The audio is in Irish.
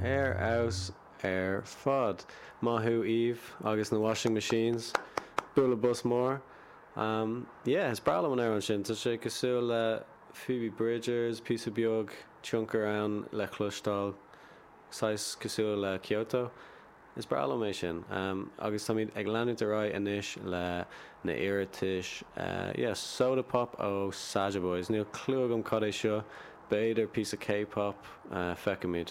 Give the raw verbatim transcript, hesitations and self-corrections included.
Ar fheabhas ar fad. Maith thú Eve agus na Washing Machines. Bualadh bos mór. Um, yeah, is breá liom an amhrán sin, tá sé cosúil le Phoebe Bridgers, píosa beag tionchar ann le cloisteáil, saghas cosúil le Kyoto. Is breá liom é sin. Um, agus táimid ag leanúint ar aghaidh anois le na hiarratais uh, yeah, Soda Pop ó Saja Boys. Níl clue agam cad é seo, b'fhéidir píosa K-pop uh, feicimid.